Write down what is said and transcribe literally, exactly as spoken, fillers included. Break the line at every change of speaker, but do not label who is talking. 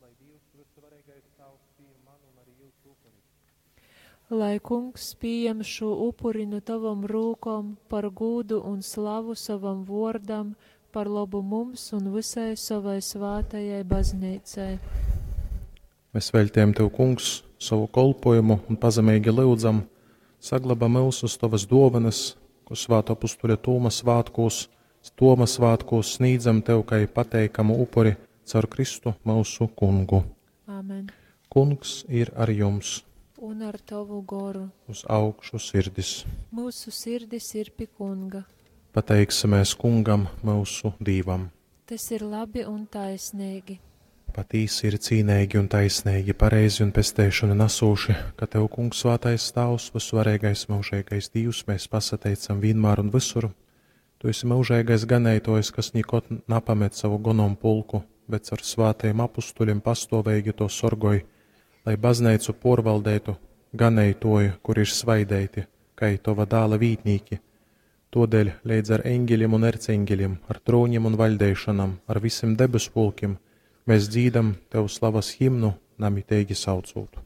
Lai Dīvs, Vysuvareigais Tāvs, pījam manu un arī jūsu upuri.
Lai Kungs pījam šū upuri nu tavom rūkom par gūdu un slavu sovam vōrdam, par lobu mums un visai savai svātajai bazneicai.
Mēs veļtējam Tev, Kungs, savu kolpojumu un pazemeigi lyudzam, saglabā myusus Tovas dōvanas, ko svātō apustuļa Tūma svātkūs, Toma svātkūs snīdzam Tev kai pateikamu upuri caur Kristu myusu Kungu.
Āmen.
Kungs ir ar jums,
Un ar tavu goru.
uz augšu sirdis.
Mūsu sirdis ir pie Kunga.
Pateiksimies Kungam, myusu Dīvam.
Tas ir labi un taisnīgi.
Patīsi ir cīneigi un taisneigi, pareizi un pesteišanu nasūši, ka Tev, Kungs, svātais Tāvs, vysvareigais mūžīgais Dīvs, mēs pasateicam vienmēr un visur. Tu esi mūžīgais ganētojs, kas nikod napamet savu gonom pulku, bet caur svātajiem apustuļiem pastoveigi to sorgoj, lai bazneicu porvaldētu ganētoju, kur ir svaideiti, kai tova dāla vītnīki. Todēļ leidz ar eņģeļiem un erceņģeļiem, ar trūņiem un vaļdeišanam, ar visiem debes pulkiem, mēs dzīdam Tev slavas himnu, namiteigi saucūt.